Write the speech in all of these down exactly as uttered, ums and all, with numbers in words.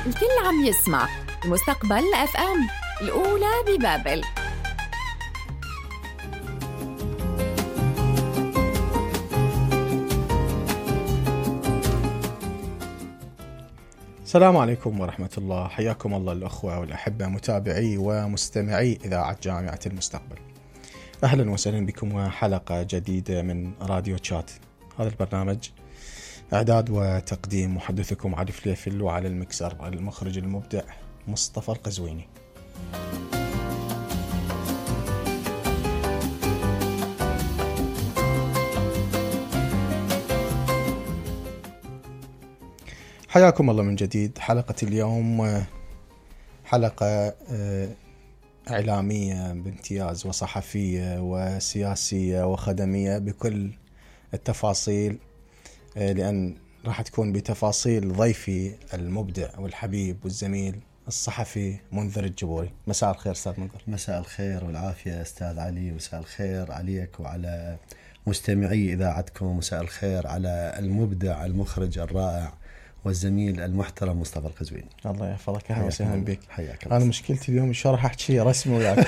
الكل عم يسمع المستقبل اف ام الأولى ببابل. السلام عليكم ورحمة الله، حياكم الله الأخوة والأحبة متابعي ومستمعي إذاعة جامعة المستقبل. أهلا وسهلا بكم وحلقة جديدة من راديو تشات. هذا البرنامج إعداد وتقديم محدثكم علي فليفل، وعلى المكسر المخرج المبدع مصطفى القزويني. حياكم الله من جديد. حلقة اليوم حلقة إعلامية بامتياز، وصحفية وسياسية وخدمية بكل التفاصيل، لأن راح تكون بتفاصيل ضيفي المبدع والحبيب والزميل الصحفي منذر الجبوري. مساء الخير أستاذ منذر. مساء الخير والعافية أستاذ علي. مساء الخير عليك وعلى مستمعي إذاعتكم. مساء الخير على المبدع المخرج الرائع والزميل المحترم مصطفى القزويني. الله يحفظك، اهلا وسهلا بك. حياك الله. انا مشكلتي اليوم شو راح احكي شيء رسمي وياك.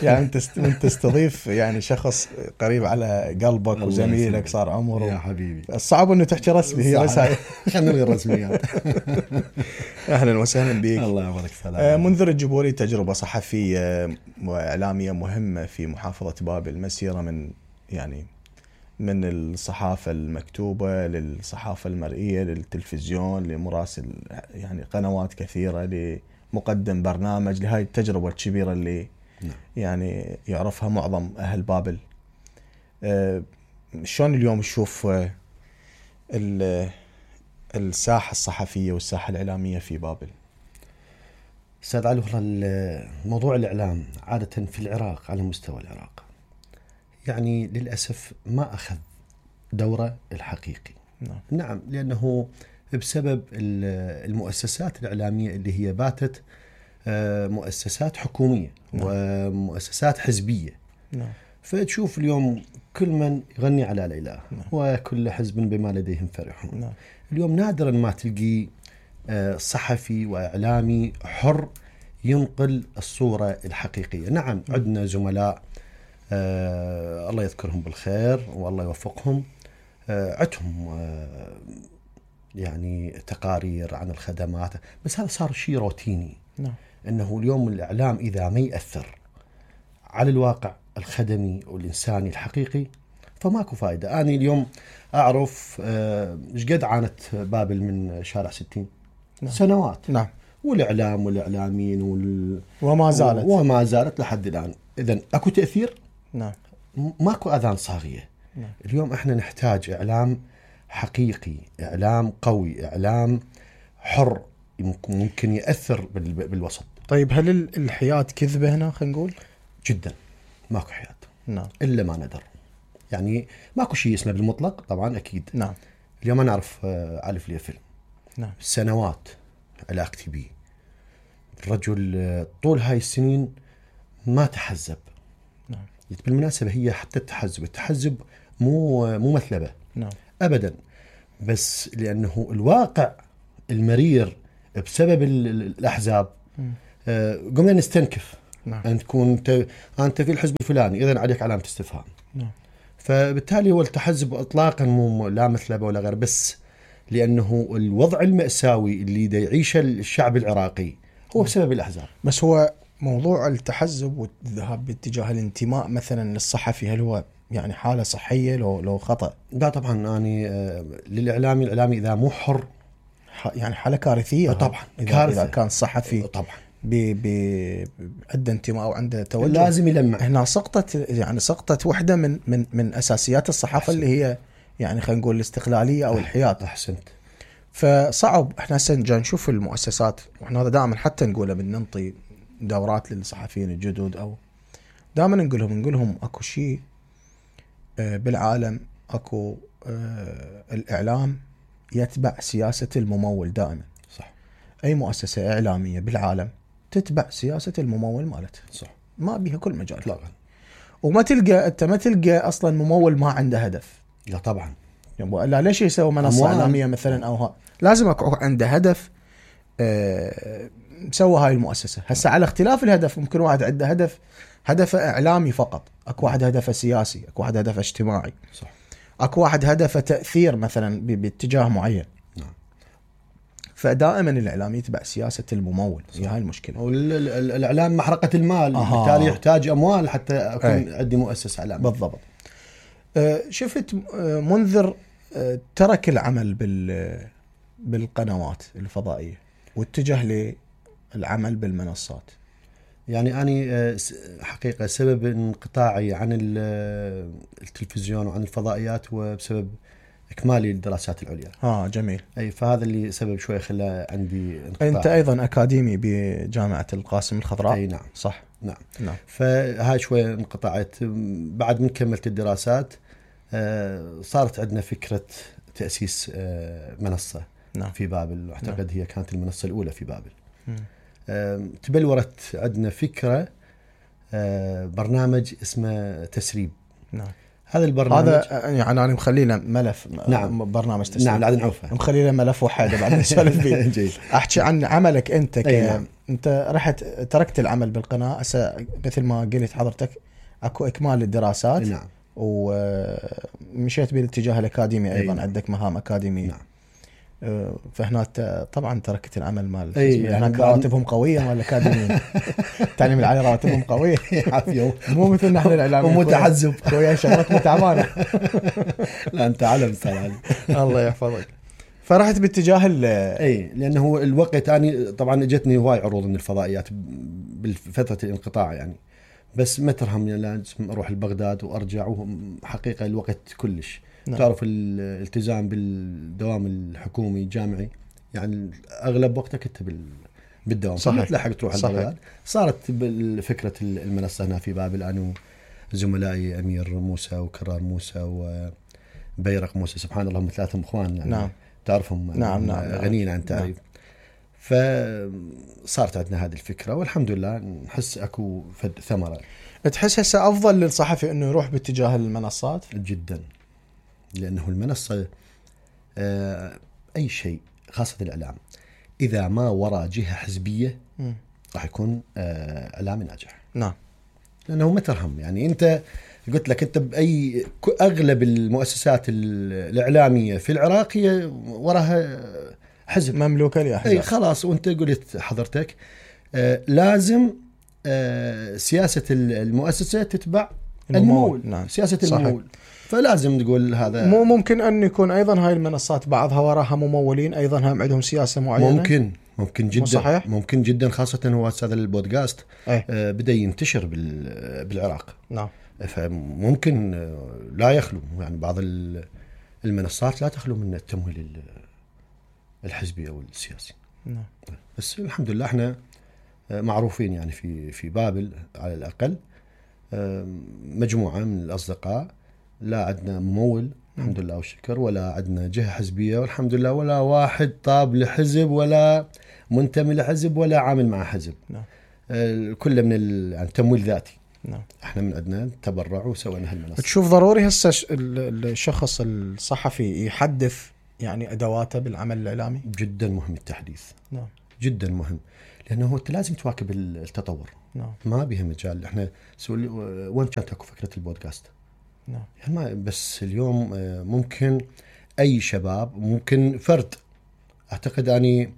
يعني انت انت تستضيف يعني شخص قريب على قلبك وزميلك صار عمره يا حبيبي. الصعب انه تحكي رسمي، هي بس هاي. خلينا نلغي الرسميات. اهلا وسهلا بك. الله يبارك فيك. منذر الجبوري تجربه صحفيه واعلاميه مهمه في محافظه بابل، مسيره من يعني من الصحافة المكتوبة للصحافة المرئية للتلفزيون لمراسل يعني قنوات كثيرة لمقدم برنامج، لهاي التجربة الكبيرة اللي يعني يعرفها معظم أهل بابل. أه شلون اليوم تشوف أه الساحة الصحفية والساحة الإعلامية في بابل؟ أستاذ علي، والله موضوع الإعلام عادة في العراق على مستوى العراق يعني للأسف ما أخذ دوره الحقيقي. نعم. نعم، لأنه بسبب المؤسسات الإعلامية اللي هي باتت مؤسسات حكومية. نعم. ومؤسسات حزبية. نعم. فتشوف اليوم كل من يغني على الإله. نعم. وكل حزب بما لديهم فرحون. نعم. اليوم نادرا ما تلقي صحفي وإعلامي حر ينقل الصورة الحقيقية. نعم، عندنا زملاء آه الله يذكرهم بالخير والله يوفقهم، آه عندهم آه يعني تقارير عن الخدمات، بس هذا صار شيء روتيني. نعم. انه اليوم الاعلام اذا ما يأثر على الواقع الخدمي والانساني الحقيقي فماكو فائده. انا اليوم اعرف ايش آه قد عانت بابل من شارع ستين. نعم. سنوات. نعم. والاعلام والاعلاميين وال... وما زالت وما زالت لحد الان. اذا اكو تأثير. نعم. ماكو أذان صاغية. نعم. اليوم احنا نحتاج إعلام حقيقي، إعلام قوي، إعلام حر ممكن يأثر بالوسط. طيب هل الحياة كذبة هنا خلينا نقول؟ جدا ماكو حياة. نعم. إلا ما ندر. يعني ماكو شيء اسمه بالمطلق طبعا أكيد. نعم. اليوم أنا أعرف علي فليفل. نعم. سنوات علاقتي بيه. الرجل طول هاي السنين ما تحزب. نعم. بالمناسبة هي حتى التحزب التحزب مو مو مثلبة. نعم. أبدا، بس لأنه الواقع المرير بسبب الأحزاب آه قمنا نستنكف. نعم. أن تكون أنت, أنت في الحزب الفلاني إذن عليك علامة استفهام. نعم. فبالتالي هو التحزب إطلاقا مو لا مثلبة ولا غير، بس لأنه الوضع المأساوي اللي دا يعيشه الشعب العراقي هو بسبب الأحزاب. بس هو موضوع التحزب والذهاب باتجاه الانتماء مثلا للصحفي، هل هو يعني حالة صحية لو لو خطأ؟ لا طبعا، يعني آه للإعلامي الإعلامي إذا مو حر يعني حالة كارثية. طبعا إذا, كارثة. إذا كان صحفي طبعا عنده انتماء أو عنده توجه لازم يلمع. هنا سقطت يعني سقطت واحدة من من من أساسيات الصحافة. أحسنت. اللي هي يعني خلينا نقول الاستقلالية أو الحياد. أحسنت. فصعب احنا هسه جا نشوف المؤسسات، واحنا هذا دائما حتى نقوله بننطي دورات للصحفيين الجدد او دائما نقولهم نقولهم اكو شيء بالعالم، اكو الاعلام يتبع سياسة الممول دائما. صح. اي مؤسسة اعلامية بالعالم تتبع سياسة الممول مالته. صح. ما بيها كل مجال. لا. وما تلقى انت ما تلقى اصلا ممول ما عنده هدف. لا طبعا. لا ليش يسوي منصة إعلامية مثلا أو ها، لازم يكون عنده هدف آه سوى هاي المؤسسة. هسه على اختلاف الهدف، ممكن واحد عنده هدف هدفه إعلامي فقط، أكو واحد هدفه سياسي، أكو واحد هدفه اجتماعي، صح. أكو واحد هدفه تأثير مثلا ب- باتجاه معين. نعم. فدائما الإعلام يتبع سياسة الممول، هي هاي المشكلة. والإعلام محرقة المال، أها. بالتالي يحتاج أموال حتى أكون أي. عندي مؤسسة إعلامية. بالضبط. آه شفت آه منذر آه ترك العمل بال بالقنوات الفضائية واتجه للعمل بالمنصات. يعني أنا حقيقة سبب انقطاعي عن التلفزيون وعن الفضائيات هو بسبب إكمالي الدراسات العليا. ها جميل. أي فهذا اللي سبب شوي خلى عندي انقطاع. أنت أيضا أكاديمي بجامعة القاسم الخضراء. أي نعم. صح. نعم. نعم. فهاي شوي انقطعت. بعد من كملت الدراسات صارت عندنا فكرة تأسيس منصة نعم. في بابل، أعتقد نعم. هي كانت المنصة الأولى في بابل. م. تبلورت عندنا فكرة برنامج اسمه تسريب. نعم. هذا البرنامج هذا يعني أنا مخلينا ملف. نعم. برنامج تسريب. نعم. لا نعوفه. مخلينا ملف واحد بعد نسولف فيه. أحكي عن عملك أنت. ك... نعم. أنت رحت تركت العمل بالقناة مثل ما قلت حضرتك، أكو إكمال الدراسات. نعم. ومشيت بالاتجاه الأكاديمي أيضا. نعم. عندك مهام أكاديمية. نعم. فهنا طبعا تركت العمل مال أي يعني هناك رواتبهم قوية ولا أكاديميين. التعليم العالي رواتبهم قوية عافية، مو مثل نحن الإعلاميين ومتحزب خويا شغلتنا تعبانة. لا أنت علم صار. الله يحفظك. فرحت باتجاه ال اي لانه هو الوقت. اني طبعا اجتني هواي عروض من الفضائيات بالفتره الانقطاع يعني، بس ما ترهم لازم اروح لبغداد وارجع، وحقيقه الوقت كلش. نعم. تعرف الالتزام بالدوام الحكومي الجامعي يعني اغلب وقتك انت بالدوام، صحيح. تلحق تروح لبغداد. صارت فكره المنصه هنا في بابل، انا وزملائي امير موسى وكرار موسى وبيرق موسى، سبحان الله هم ثلاثه اخوان يعني. نعم. تعرفهم. نعم. نعم. غنيين عن تعريف. نعم. فصارت عندنا هذه الفكرة والحمد لله نحس أكو فد ثمرة. تحس هسه أفضل للصحفي أنه يروح باتجاه المنصات؟ جدا، لأنه المنصة أي شيء خاصة الإعلام إذا ما وراء جهة حزبية م. راح يكون إعلامي ناجح. نعم. لأنه ما ترهم يعني. أنت قلت لك أنت بأي أغلب المؤسسات الإعلامية في العراق هي وراها حزب مملوكة لأحزاب. أي خلاص. وأنت قلت حضرتك آه لازم آه سياسة المؤسسة تتبع الممول. نعم. سياسة الممول. فلازم تقول هذا. مو ممكن أن يكون أيضا هاي المنصات بعضها وراها ممولين أيضا هم عندهم سياسة معينة؟ ممكن ممكن جدا. صحيح؟ ممكن جدا، خاصة هو هذا البودكاست آه بدأ ينتشر بالعراق. نعم. فممكن لا يخلو يعني بعض المنصات لا تخلو من التمويل الحزبي أو السياسي. نعم. بس الحمد لله احنا معروفين يعني في في بابل على الأقل مجموعة من الأصدقاء، لا عندنا ممول الحمد لله والشكر، ولا عندنا جهة حزبية والحمد لله، ولا واحد طاب لحزب ولا منتمي لحزب ولا عامل مع حزب. نعم. كله من يعني تمويل ذاتي. نعم. احنا من عندنا تبرع وسوينا هالمنصة. تشوف ضروري هسه الشخص الصحفي يحدث يعني أدواته بالعمل الإعلامي؟ جدا مهم التحديث. نعم. جدا مهم، لأنه هو لازم تواكب التطور. نعم. ما بها مجال. احنا سؤال وين كانت اكو فكرة البودكاست؟ نعم. يعني ما بس اليوم ممكن أي شباب، ممكن فرد. أعتقد أني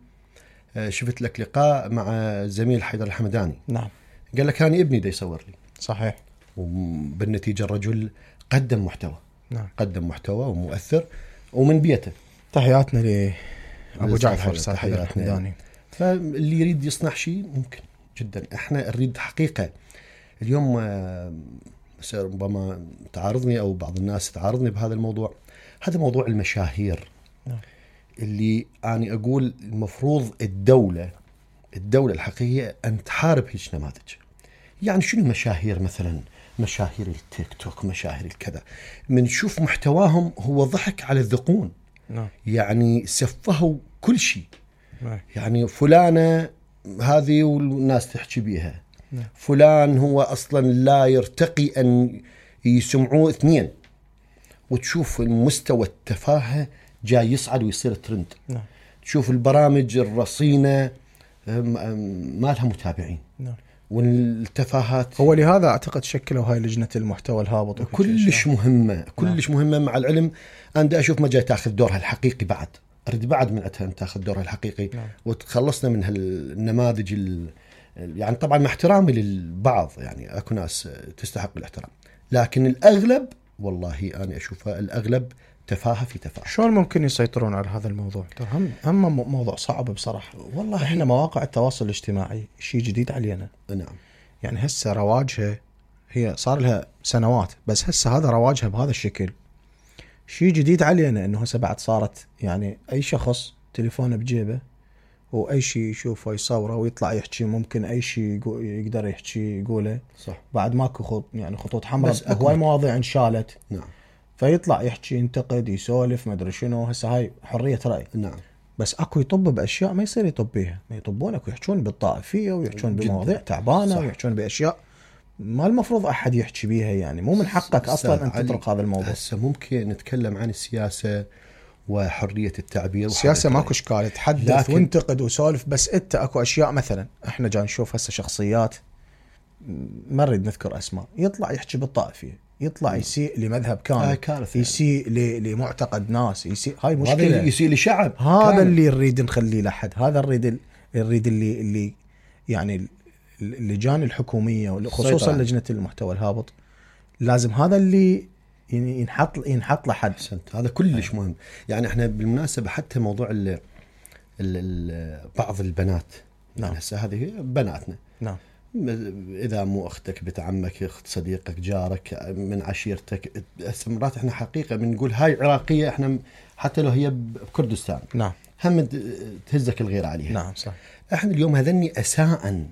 شفت لك لقاء مع زميل حيدر الحمداني. نعم. قال لك أنا ابني دا يصور لي. صحيح. وبالنتيجة الرجل قدم محتوى. نعم. قدم محتوى ومؤثر ومن بيته. تحياتنا لأبو جعفر صاحب الحمداني. فاللي يريد يصنع شيء ممكن جدا. احنا نريد حقيقة. اليوم ربما تعارضني أو بعض الناس تعارضني بهذا الموضوع، هذا موضوع المشاهير. نعم. اللي أنا أقول المفروض الدولة الدولة الحقيقية أن تحارب هيج نماذج. يعني شنو المشاهير؟ مثلا مشاهير التيك توك، مشاهير الكذا، منشوف محتواهم هو ضحك على الذقون. نعم. يعني سفهوا كل شيء. نعم. يعني فلانة هذه والناس تحكي بيها. نعم. فلان هو أصلا لا يرتقي أن يسمعوه اثنين، وتشوف المستوى التفاهة جاي يصعد ويصير ترند. نعم. تشوف البرامج الرصينة ما لها متابعين. نعم. والتفاهات. هو لهذا اعتقد شكلوا هاي لجنة المحتوى الهابط كلش مهمة كلش نعم. مهمة. مع العلم أنا أشوف ما جاي تاخذ دورها الحقيقي بعد، أريد بعد من أتها تاخذ دورها الحقيقي نعم. وتخلصنا من هالنماذج ال... يعني طبعا مع احترامي للبعض، يعني أكو ناس تستحق الاحترام، لكن الأغلب والله أنا أشوفها الأغلب تفاهة في تفاهة. شلون ممكن يسيطرون على هذا الموضوع؟ هم هم موضوع صعب بصراحة. والله احنا مواقع التواصل الاجتماعي شيء جديد علينا. نعم. يعني هسه رواجها هي صار لها سنوات، بس هسه هذا رواجها بهذا الشكل شيء جديد علينا، انه هسه بعد صارت يعني اي شخص تليفونه بجيبه واي شيء يشوفه يصوره ويطلع يحكي، ممكن اي شيء يقدر يحكي يقوله. صح. بعد ماكو خط يعني خطوط حمراء، هواي مواضيع انشالت. نعم. فيطلع يحكي ينتقد يسولف ما ادري شنو. هسه هاي حرية رأي. نعم. بس اكو يطب باشياء ما يصير يطب بيها، ما يطبون اكو يحكون بالطائفية ويحكون بمواضيع تعبانة. صح. ويحكون باشياء ما المفروض احد يحكي بيها، يعني مو من حقك اصلا ان تطرق هذا الموضوع. هسه ممكن نتكلم عن السياسة وحرية التعبير. السياسة ماكو اشكال، تحدث وانتقد وسولف، بس انت اكو اشياء مثلا احنا جاي نشوف هسه شخصيات ما نريد نذكر اسماء يطلع يحكي بالطائفية، يطلع يسيء لمذهب كامل، يسيء لمعتقد ناس، يسيء. هاي مشكلة. هذا يسيء لشعب. هذا كامل. اللي نريد نخليه لحد، هذا نريد نريد اللي اللي يعني اللجان الحكومية خصوصا لجنة المحتوى الهابط لازم هذا اللي ينحط ينحط لحد. هذا كلش مهم. يعني احنا بالمناسبة حتى موضوع ال ال بعض البنات. نعم. يعني هسه هذه بناتنا. نعم. إذا مو أختك بنت عمك أخت صديقك جارك من عشيرتك، مرات إحنا حقيقة بنقول هاي عراقية إحنا حتى لو هي بكردستان. نعم. هم تهزك الغير عليها. نعم صح. إحنا اليوم هذني أساءً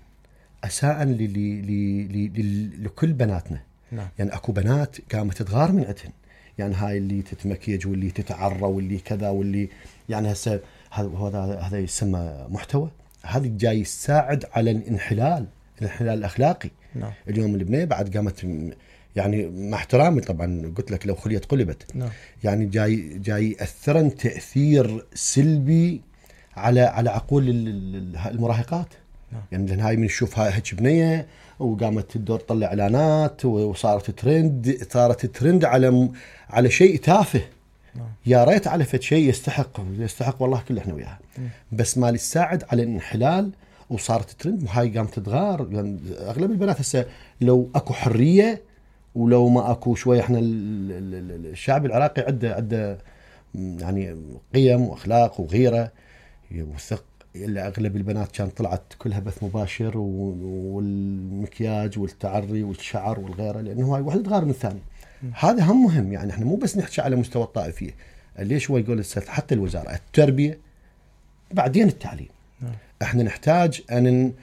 أساءً ل ل ل لكل بناتنا. نعم. يعني أكو بنات قامت تغار من عندهن، يعني هاي اللي تتمكيج واللي تتعرى واللي كذا واللي يعني هسه هذا هذا يسمى محتوى. هذا جاي يساعد على الانحلال الانحلال الأخلاقي. نعم. اليوم البنية بعد قامت يعني مع احترامي طبعا قلت لك لو خليت قلبت. نعم. يعني جاي جاي يأثرن تأثير سلبي على على عقول المراهقات. نعم. يعني لأن هاي من نشوف هاي هيك بنية وقامت تدور تطلع إعلانات وصارت ترند صارت ترند على على شيء تافه. نعم. يا ريت على فد شيء يستحق يستحق والله كل احنا وياها، بس ما يساعد على الانحلال وصارت ترند وهاي قامت تتغار. يعني اغلب البنات هسه لو اكو حريه ولو ما اكو شويه، احنا الشعب العراقي عنده عنده يعني قيم واخلاق وغيره وثق. اغلب البنات كانت طلعت كلها بث مباشر والمكياج والتعري والشعر والغيره، لانه هاي واحده تغار من الثاني. هذا هم مهم. يعني احنا مو بس نحكي على مستوى الطائفيه، ليش هو يقول حتى الوزاره التربيه بعدين التعليم. احنا نحتاج ان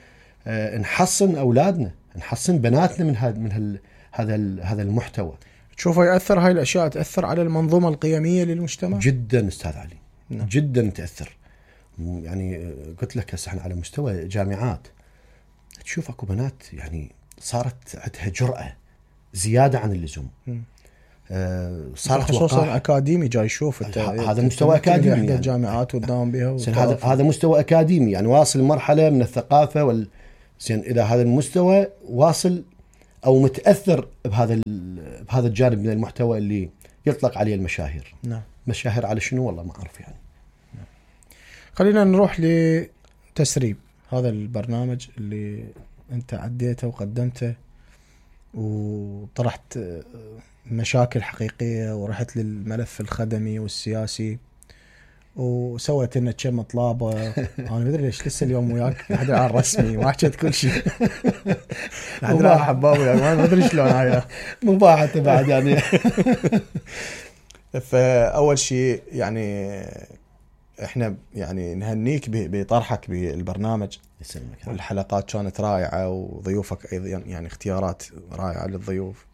نحصن اولادنا نحصن بناتنا من هذا من هذا هذا المحتوى. تشوفه ياثر هاي الاشياء تاثر على المنظومه القيميه للمجتمع جدا استاذ علي. نعم. جدا تاثر. يعني قلت لك هسه احنا على مستوى جامعات تشوف اكو بنات يعني صارت عندها جرأة زياده عن اللزوم. آه صارت خصوصا اكاديمي جاي يشوف هذا مستوى اكاديمي يعني الجامعات وتداوم بها. هذا هذا مستوى اكاديمي يعني واصل مرحله من الثقافه وال زين. اذا هذا المستوى واصل او متاثر بهذا بهذا الجانب من المحتوى اللي يطلق عليه المشاهير. نعم. مشاهير على شنو والله ما اعرف يعني. نعم. خلينا نروح لتسريب هذا البرنامج اللي انت عديته وقدمته وطرحت مشاكل حقيقية ورحت للملف الخدمي والسياسي وسويت لنا كم طلابة. أنا ما أدري ليش لسه اليوم وياك لحد الآن رسمي ما حكيت كل شيء لحد الآن حباب وياك ما أدري شلون هاي مباحة بعد يعني. فأول شيء يعني إحنا يعني نهنيك بطرحك بالبرنامج. الحلقات كانت رائعة وضيوفك أيضا يعني اختيارات رائعة للضيوف.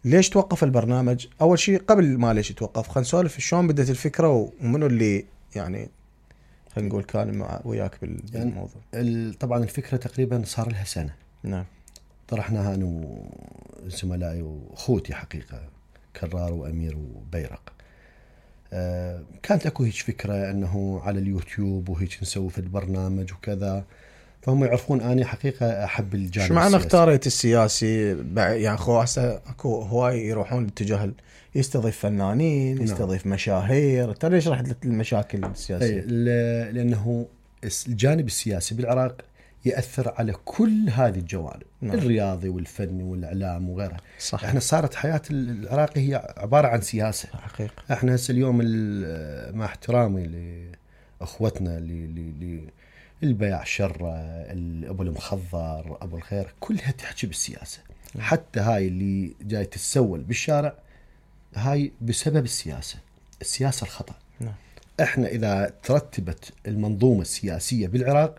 ليش توقف البرنامج؟ أول شيء قبل ما ليش توقف خلينا نسولف شلون بدت الفكرة ومنو اللي يعني خلينا نقول كان مع وياك بالموضوع. يعني طبعا الفكرة تقريبا صار لها سنة. نعم. طرحناها أنا وزملائي وأخوتي حقيقة كرار وأمير وبيرق. آه كانت اكو هيك فكره انه على اليوتيوب وهيك نسوي في البرنامج وكذا، فهم يعرفون اني حقيقه احب الجانب. شو معنى اختاريت السياسي؟ يعني خو هسه اكو هواي يروحون اتجاه يستضيف فنانين، يستضيف نعم. مشاهير، ترى ليش رحت للمشاكل السياسيه؟ لانه الجانب السياسي بالعراق يأثر على كل هذه الجوانب، نعم. الرياضي والفني والإعلام وغيرها. صح. احنا صارت حياة العراقي هي عبارة عن سياسة حقيقة. احنا هسه اليوم مع احترامي لأخوتنا اللي البيع شرة، أبو المخضر، أبو الخير، كلها تحكي بالسياسة، نعم. حتى هاي اللي جاي تتسول بالشارع هاي بسبب السياسة، السياسة الخطأ، نعم. احنا إذا ترتبت المنظومة السياسية بالعراق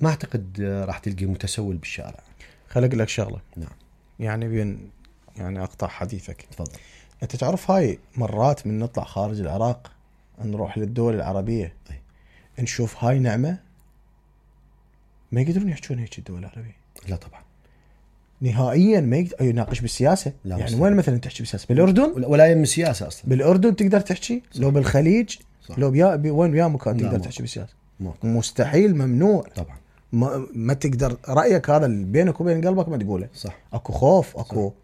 ما أعتقد راح تلقي متسول بالشارع. خلق لك شغلة، نعم. يعني بين يعني أقطع حديثك. تفضل. أنت تعرف هاي مرات من نطلع خارج العراق نروح للدول العربية، أي. نشوف هاي نعمة ما يقدرون يحجون هيك الدول العربية. لا طبعا نهائيا ما يقدر يناقش بالسياسة. يعني مستحيل. وين مثلا تحكي بالسياسة؟ بالأردن ولا يم السياسة أصلا. بالأردن تقدر تحكي، صح. لو بالخليج، صح. لو بيا بي وين بيا مكان تقدر تحكي بالسياسة. مستحيل، ممنوع طبعا. ما, ما تقدر رأيك هذا بينك وبين قلبك ما تقوله، صح. اكو خوف، اكو صح.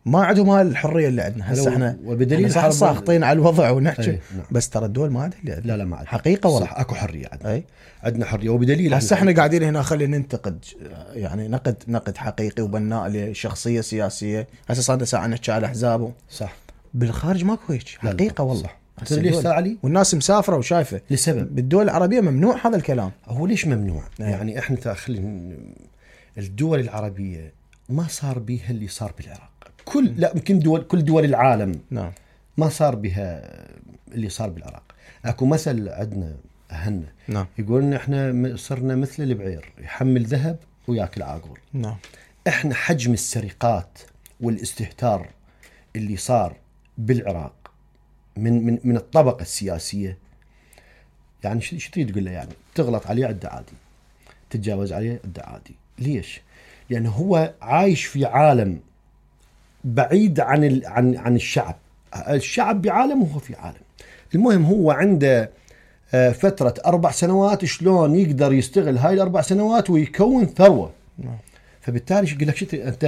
ما عندهم هاي الحريه اللي عندنا هسه. احنا وبدليل صح ساخطين على الوضع ونحكي، نعم. بس ترى الدول ما عندها اللي عندنا. لا لا ما عندنا حقيقه والله، صح. اكو حريه عندنا، أي. عندنا حريه. وبدليل هسه احنا قاعدين هنا خلي ننتقد، يعني نقد نقد حقيقي وبناء لشخصيه سياسيه. هسه صار ساعه نحكي على احزابه، صح. بالخارج ماكو هيك حقيقه والله. تدري ليش صار علي؟ والناس مسافره وشايفه لسبب بالدول العربيه ممنوع هذا الكلام. هو ليش ممنوع؟ أي. يعني احنا تاخلي الدول العربيه ما صار بيها اللي صار بالعراق. كل لا يمكن دول كل دول العالم، نعم. ما صار بها اللي صار بالعراق. اكو مثل عندنا اهلنا، نعم. يقولون احنا صرنا مثل البعير يحمل ذهب وياكل عاقول. نعم. احنا حجم السرقات والاستهتار اللي صار بالعراق من من من الطبقه السياسيه، يعني شو تريد تقول له؟ يعني تغلط عليه عده عادي، تتجاوز عليه عده عادي. ليش؟ لانه هو عايش في عالم بعيد عن ال... عن عن الشعب. الشعب بعالم وهو في عالم. المهم هو عنده فترة أربع سنوات شلون يقدر يستغل هاي الأربع سنوات ويكون ثروة. نعم. فبالتالي يقول لك شت... أنت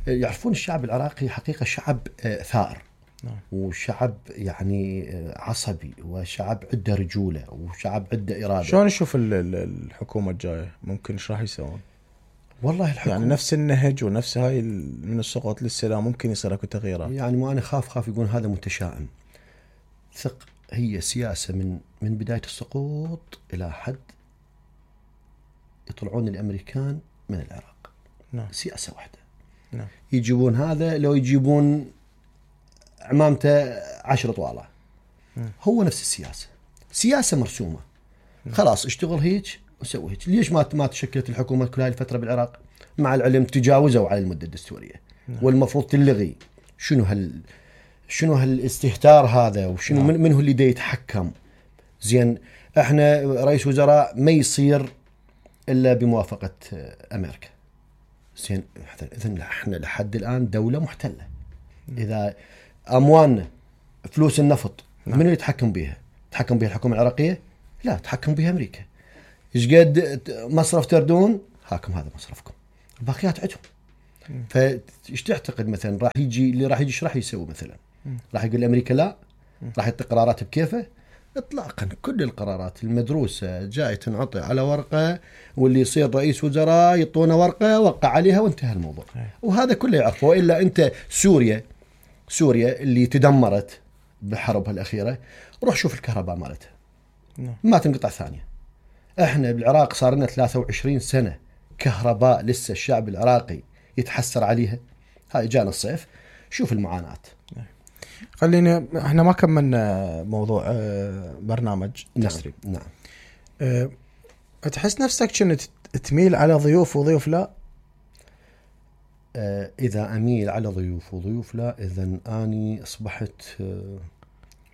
يعرفون الشعب العراقي حقيقة شعب ثائر. نعم. وشعب يعني عصبي، وشعب عنده رجولة، وشعب عنده إرادة. شلون نشوف الحكومة الجاية ممكن ايش راح يسوون؟ والله الحكومة يعني نفس النهج ونفس هاي من السقوط للسلام ممكن يصير اكو تغييرات. يعني ما انا خاف خاف يقول هذا متشائم. ثق، هي سياسة من من بداية السقوط إلى حد يطلعون الأمريكان من العراق. نعم. سياسة واحدة. نعم. يجيبون هذا، لو يجيبون عمامته عشر طوالة. نعم. هو نفس السياسة، سياسة مرسومة. نعم. خلاص اشتغل هيك وسوي هيك. ليش ما ما تشكلت الحكومة كل هاي الفترة بالعراق؟ مع العلم تجاوزوا على المدة الدستورية. نعم. والمفروض تلغي. شنو هال شنو هالاستهتار هذا؟ وشنو نعم. من من هو اللي دا يتحكم؟ زين احنا رئيس وزراء ما يصير الا بموافقة امريكا. زين اذا احنا لحد الان دولة محتلة. نعم. اذا اموالنا فلوس النفط، نعم. من اللي يتحكم بها؟ تحكم بها الحكومة العراقية؟ لا، تحكم بها امريكا. ايش قد مصرف تردون؟ هاكم هذا مصرفكم، الباقيات عندهم. فايش تعتقد مثلا راح يجي اللي راح يجي ايش راح يسوي مثلا؟ راح يقول امريكا لا؟ راح يعطي قرارات بكيفه؟ اطلاقا. كل القرارات المدروسه جاي تنعطي على ورقه، واللي يصير رئيس وزراء يعطونه ورقه وقع عليها وانتهى الموضوع. وهذا كله يعرفه. الا انت سوريا سوريا اللي تدمرت بحربها الاخيره، روح شوف الكهرباء مالتها ما تنقطع ثانيه. احنا بالعراق صار لنا ثلاثة وعشرين سنة كهرباء لسه الشعب العراقي يتحسر عليها. هاي جانا الصيف شوف المعاناة. خلينا احنا ما كملنا موضوع برنامج تسريب. نعم. أه تحس نفسك كنت تميل على ضيوف وضيوف لا؟ أه اذا اميل على ضيوف وضيوف لا، اذا اني اصبحت أه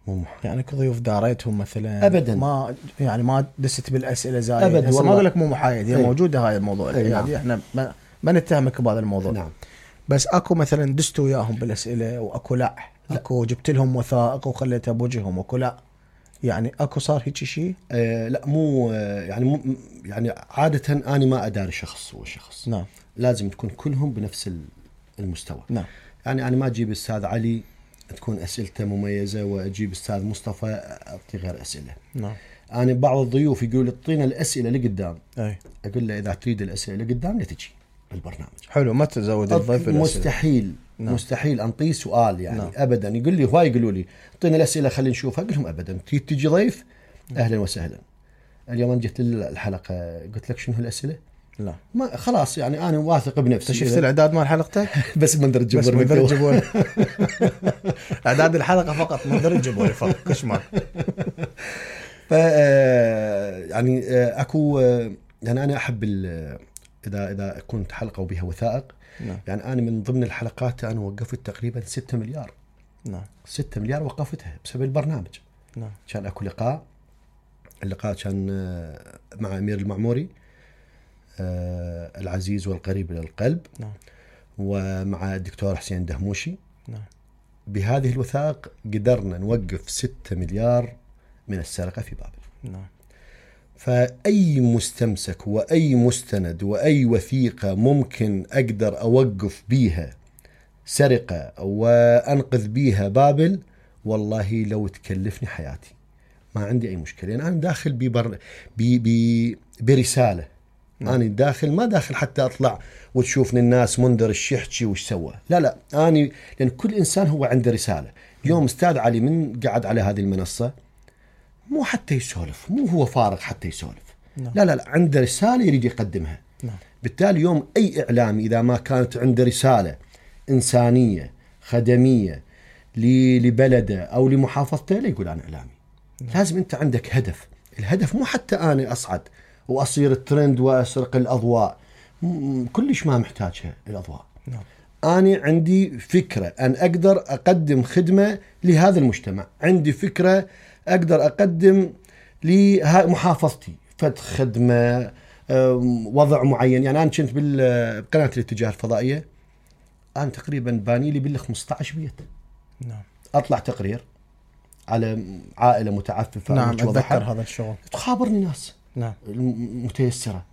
مو يعني كضيوف داريتهم مثلا ابدا، ما يعني ما دست بالاسئله زايد ابدا. ما اقول لك مو محايد، هي ايه. موجوده هاي الموضوع. ايه. يعني احنا ما, ما نتهمك بهذا الموضوع. نعم. بس اكو مثلا دستوا وياهم بالاسئله واكو لا اكو جبت لهم وثائق وخليتها بوجههم وكو لا يعني اكو صار هيك شيء؟ آه لا مو آه يعني مو يعني عاده انا ما اداري شخص هو شخص. نعم. لازم تكون كلهم بنفس المستوى. نعم. يعني انا ما اجيب استاذ علي تكون اسئلته مميزه واجيب استاذ مصطفى اعطي غير اسئله. نعم. انا بعض الضيوف يقول لي اعطينا الاسئله اللي قدام. اي. اقول له اذا تريد الاسئله اللي قدام لا تجي بالبرنامج. حلو ما تزود الضيف الاسئله. مستحيل. نعم. مستحيل انطيه سؤال يعني. نعم. ابدا. يقول لي هواي يقولوا لي اعطينا الاسئله خلينا نشوفها. اقول لهم ابدا تجي ضيف اهلا وسهلا. اليوم انا جيت الحلقه قلت لك شنو الاسئله؟ لا ما خلاص يعني انا واثق بنفسي. شفت الاعداد مال حلقتك؟ بس منظر الجمهور. بس منظر الجمهور. اعداد الحلقه فقط منظر الجمهور فقط كش مال. ف يعني اكو يعني انا احب اذا اذا كنت حلقه وبها وثائق. نعم. يعني انا من ضمن الحلقات انا وقفت تقريبا ستة مليار. نعم. ستة مليار وقفتها بسبب البرنامج. نعم. كان اكو لقاء اللقاء كان مع امير المعموري آه العزيز والقريب الى القلب. نعم. ومع الدكتور حسين دهموشي. نعم. بهذه الوثائق قدرنا نوقف ستة مليار من السرقة في بابل. نعم. فأي مستمسك وأي مستند وأي وثيقة ممكن أقدر أوقف بيها سرقة وأنقذ بيها بابل والله لو تكلفني حياتي ما عندي أي مشكلة. يعني أنا داخل ببر... بي... بي... برسالة. نعم. أنا داخل ما داخل حتى أطلع وتشوفني الناس منذر الشحشي وش سوى. لا لا أنا لأن كل إنسان هو عنده رسالة. اليوم أستاذ علي من قعد على هذه المنصة مو حتى يسولف مو هو فارغ حتى يسولف. نعم. لا لا لا عنده رسالة يريد يقدمها. نعم. بالتالي يوم أي إعلامي إذا ما كانت عنده رسالة إنسانية خدمية لبلده أو لمحافظته لا يقول أنا إعلامي. نعم. لازم أنت عندك هدف. الهدف مو حتى أنا أصعد وأصير الترند وأسرق الأضواء كلش ما محتاجها الأضواء. نعم. أنا عندي فكرة أن أقدر أقدم خدمة لهذا المجتمع. عندي فكرة أقدر أقدم لمحافظتي فد خدمة وضع معين. يعني أنا كنت بقناة الاتجاه الفضائية أنا تقريبا باني لي بال خمسة عشر بيت. نعم. أطلع تقرير على عائلة متعففة. نعم أتذكر هذا الشغل. تخابرني ناس. نعم. متيسرة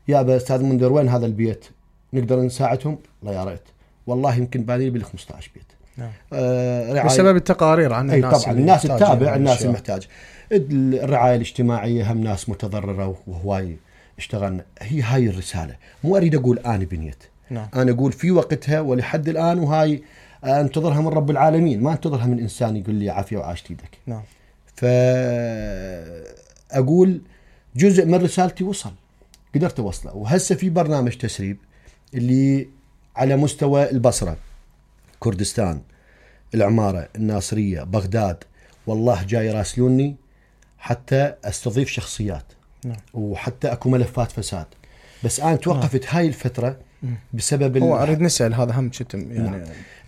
يا أستاذ منذر وين هذا البيت نقدر نساعدهم؟ لا يا ريت والله يمكن باني لي بال خمسة عشر بيت. نعم. آه بسبب التقارير عن الناس. طبعا الناس تتابع الناس المحتاج. الرعاية الاجتماعية هم ناس متضررة وهواي اشتغلنا. هي هاي الرسالة. مو أريد أقول أنا بنيت. نعم. أنا أقول في وقتها ولحد الآن وهاي أنتظرها من رب العالمين ما أنتظرها من إنسان يقول لي عافية وعاشت يدك. نعم. فأقول جزء من رسالتي وصل قدرت أوصله. وهسه في برنامج تسريب اللي على مستوى البصرة كردستان العمارة الناصرية بغداد والله جاي يراسلوني حتى استضيف شخصيات. نعم. وحتى اكو ملفات فساد بس انا توقفت. نعم. هاي الفترة بسبب هو اريد نسأل هذا هم شتم يعني. نعم.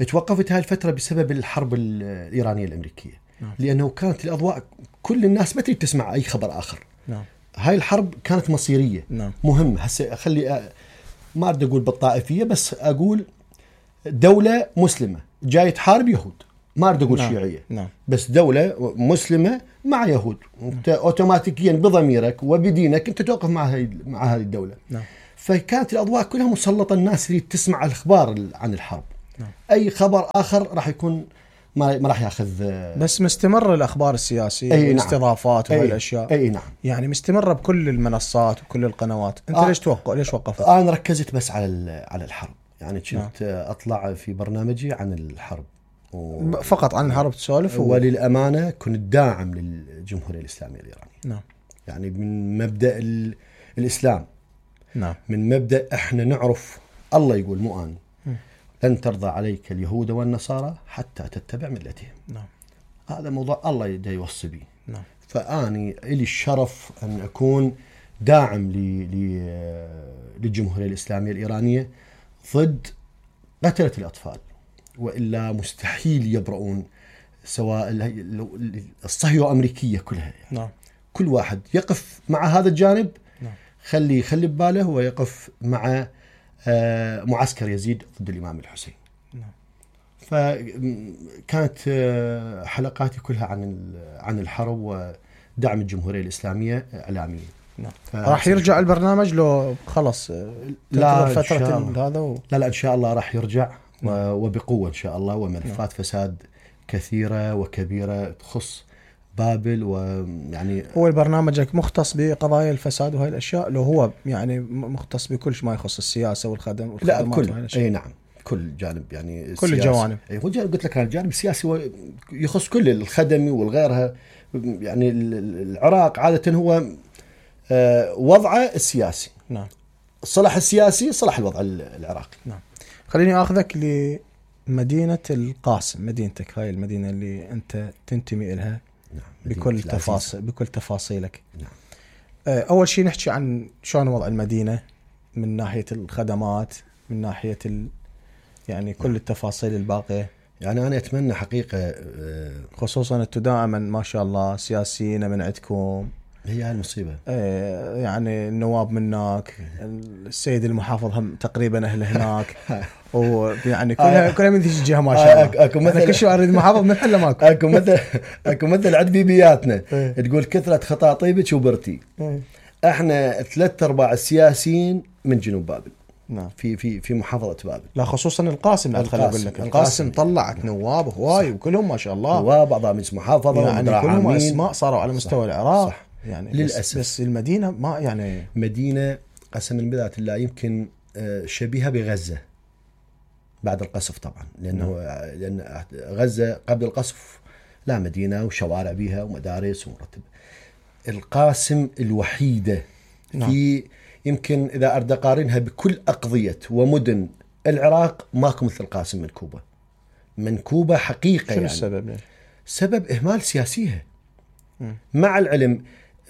توقفت هاي الفترة بسبب الحرب الإيرانية الأمريكية. نعم. لأنه كانت الأضواء كل الناس ما تريد تسمع أي خبر آخر. نعم. هاي الحرب كانت مصيرية. نعم. مهمة. هسه خلي ما أريد أقول بالطائفية بس أقول دولة مسلمة جاي تحارب يهود ما أريد أقول. نعم. شيعية. نعم. بس دولة مسلمة مع يهود. نعم. أوتوماتيكيا بضميرك وبدينك أنت توقف مع هاي مع هذه الدولة. نعم. فكانت الأضواء كلها مسلطة الناس اللي تسمع الأخبار عن الحرب. نعم. أي خبر آخر راح يكون ما ما راح ياخذ. بس مستمر الأخبار السياسية والاستضافات نعم. وهاي الأشياء. أي نعم. يعني مستمرة بكل المنصات وكل القنوات. أنت آه. ليش توقف ليش وقفت؟ أنا ركزت بس على على الحرب. يعني كنت نعم. أطلع في برنامجي عن الحرب و... فقط عن الحرب تسولف. و... وللأمانة كنت داعم للجمهورية الإسلامية الإيرانية. نعم. يعني من مبدأ ال... الإسلام. نعم. من مبدأ إحنا نعرف الله يقول مو أنا لن ترضى عليك اليهود والنصارى حتى تتبع ملتهم. نعم. هذا موضوع الله يدا يوصي به. نعم. فأني إلي الشرف أن أكون داعم ل... ل... للجمهورية الإسلامية الإيرانية ضد قتلة الأطفال وإلا مستحيل يبرؤون سواء الصهيونية أمريكية كلها. يعني. نعم. كل واحد يقف مع هذا الجانب. نعم. خلي خلي بباله ويقف مع معسكر يزيد ضد الإمام الحسين. نعم. فكانت حلقاتي كلها عن عن الحرب ودعم الجمهورية الإسلامية إعلاميا. نعم. راح يرجع البرنامج لو خلص لا فترة هذا و... لا لا إن شاء الله راح يرجع وبقوة إن شاء الله، وملفات فساد كثيرة وكبيرة تخص بابل. ويعني هو برنامجك مختص بقضايا الفساد وهاي الأشياء، لو هو يعني مختص بكل ما يخص السياسة والخدم والخدمات؟ لا بكل أي نعم كل جانب يعني كل الجوانب. أي هو قلت لك الجانب السياسي يخص كل الخدمي والغيرها. يعني العراق عادة هو وضعه السياسي. نعم. الصلاح السياسي صلاح الوضع العراقي. نعم. خليني أخذك لمدينة القاسم، مدينتك هاي المدينة اللي أنت تنتمي إلها. نعم. بكل تفاصيل بكل تفاصيلك. نعم. أول شيء نحكي عن شلون وضع المدينة من ناحية الخدمات، من ناحية ال... يعني كل التفاصيل الباقية. يعني أنا أتمنى حقيقة خصوصا أنتم دائما ما شاء الله سياسيين من عندكم، هي هالمصيبة. يعني النواب منك، السيد المحافظ هم تقريبا أهل هناك، ويعني كلها كلها من ذي الجهة ما شاء الله. أكو مثل كل شيء أريد محافظ من حلا ماكو. أكو مثل أكو مثل عند بيبياتنا تقول كثرة خطاطيبك وبرتي. احنا ثلاث ارباع السياسيين من جنوب بابل. نعم. في في في محافظة بابل. لا خصوصا القاسم. ادخل اقول لك القاسم طلعت نواب هواي وكلهم ما شاء الله، نواب اعضاء مجلس محافظة يعني كلهم اسماء صاروا على مستوى صح. العراق. صح. يعني للاسف بس, بس المدينة ما يعني مدينة قسما بالله لا يمكن شبيهة بغزة بعد القصف طبعا، لانه نعم. لان غزة قبل القصف لا مدينة وشوارع بيها ومدارس ومرتبة. القاسم الوحيدة نعم. في يمكن إذا أريد أقارنها بكل أقضية ومدن العراق ماكو مثل القاسم منكوبة. منكوبة حقيقة. شو يعني السبب ليش؟ سبب إهمال سياسيها. مع العلم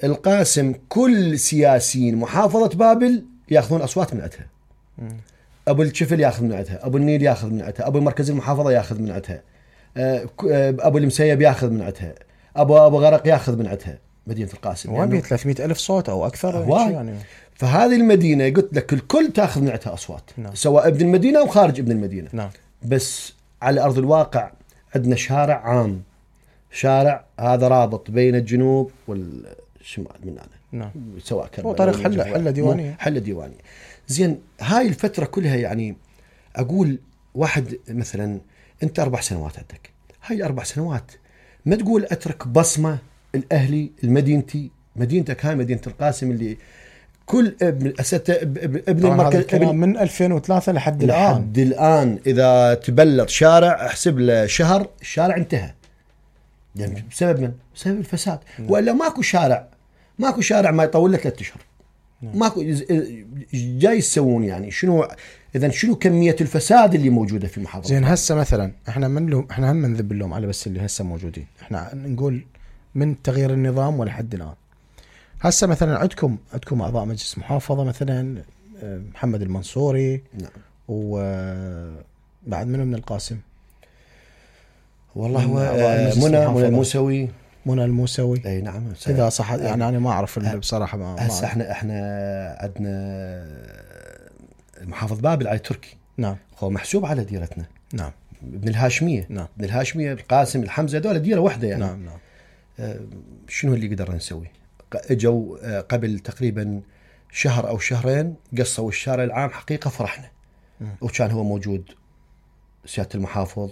القاسم كل سياسيين محافظة بابل يأخذون أصوات من عندها. أبو الشفل يأخذ من عندها، أبو النيل يأخذ من عندها، أبو مركز المحافظة يأخذ من عندها، أبو المسيب يأخذ من عندها، أبو أبو غرق يأخذ من عندها. مدينة القاسم وين بيه ثلاثمئة ألف صوت أو أكثر يعني. فهذه المدينة قلت لك الكل تأخذ من عندها أصوات. نعم. سواء ابن المدينة أو خارج ابن المدينة. نعم. بس على أرض الواقع عندنا شارع عام، شارع هذا رابط بين الجنوب والشمال مننا. نعم. سواء كان هو طريق حلة حلة ديوانية. حلة ديوانية. زين هاي الفترة كلها يعني أقول واحد مثلا أنت أربع سنوات عندك، هاي الأربع سنوات ما تقول أترك بصمة الأهلي المدينتي. مدينتك هاي مدينة القاسم اللي كل ابن ابن المركز ابن من ألفين وثلاثة لحد الآن. لحد الآن إذا تبلط شارع احسب له شهر الشارع انتهى. يعني بسبب من؟ بسبب الفساد. وإلا ماكو شارع ماكو شارع ما يطول له ثلاثة أشهر. ماكو جاي يسوون يعني شنو إذا شنو كمية الفساد اللي موجودة في محافظة. زين هسه مثلا احنا من لهم احنا هم نذب اللوم على بس اللي هسه موجودين. احنا نقول من تغيير النظام ولحد الآن. هسه مثلا عندكم عندكم أعضاء مجلس محافظة مثلا محمد المنصوري. نعم. وبعد منه من القاسم والله هو منى منى الموسوي منى الموسوي. اي نعم. إذا صح يعني أنا ما أعرف بصراحة. ما هسه احنا احنا عندنا محافظ بابل علي تركي. نعم. هو محسوب على ديرتنا. نعم. ابن الهاشمية. نعم. ابن الهاشمية القاسم الحمزة دولة ديرة واحدة يعني. نعم نعم. آه شنو اللي قدرنا نسوي؟ اجوا آه قبل تقريبا شهر او شهرين قصوا الشارع العام حقيقة فرحنا. م. وكان هو موجود سيادة المحافظ